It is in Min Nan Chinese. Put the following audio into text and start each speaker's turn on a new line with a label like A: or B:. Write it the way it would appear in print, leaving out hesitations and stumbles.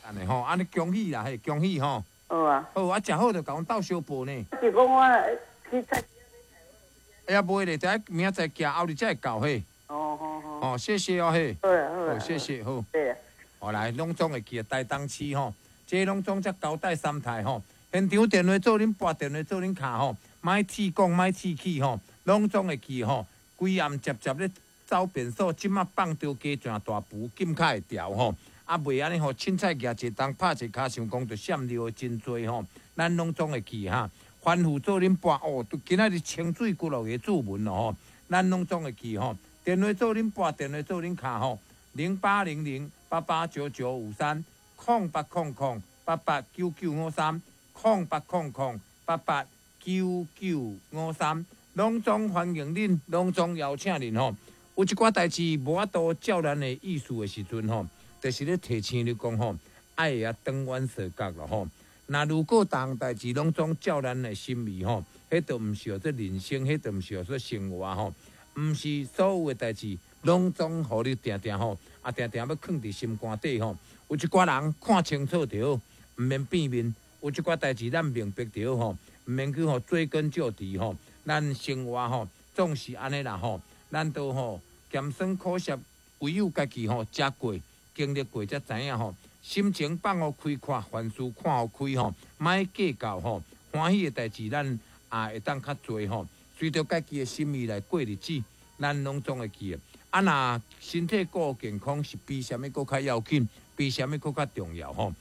A: 按呢吼，按呢恭喜啦，嘿，恭喜吼。
B: 好啊。
A: 好，啊，食好就共阮鬥相報呢。
B: 是講我去菜。
A: 哎呀，袂咧，等明仔載行後日才會到嘿。
B: 哦，好好。
A: 哦，謝謝哦，嘿。
B: 好啊，好啊。
A: 好，謝謝，好。
B: 對啊。
A: 好來，攏總會記得台東市吼，這攏總才交代三台吼，現場電話做恁撥電話做恁敲吼，莫試講，莫試去吼，攏總會記吼，規暗捷捷咧走便所，這馬放著雞上大埔，禁較會調吼。啊，袂按呢吼，凊彩舉一冬拍一跤，想講就閃尿的真濟吼，咱攏總會記哈。吩咐做恁撥哦，今仔日清水骨落個注文咯吼，咱攏總會記吼。電話做恁撥，電話做恁敲吼，0800889953，0800889953，0800889953，攏總歡迎恁，攏總邀請恁吼。有一寡代誌無法度照咱的意思的時陣吼，就是咧提醒你講吼，愛會曉轉彎踅角咯吼。若如果逐項代誌攏總照咱的心意吼，彼就毋是叫做人生，彼就毋是叫做生活吼。毋是所有的代誌攏總予你定定吼，啊定定欲囥佇心肝底吼。有一寡人看清楚就好，毋免變面；有一寡代誌咱明白就好吼，毋免去吼追根究底吼。咱生活吼總是按呢啦吼，咱都吼鹹酸苦澀，唯有家己吼食過、經歷過才知影吼。心情放予開闊，凡事看予開吼，莫計較吼。歡喜的代誌咱也會當較濟吼。隨著家己的心意來過日子，咱攏總會記得。啊，若身體顧健康是比啥物閣較要緊，比啥物閣較重要吼。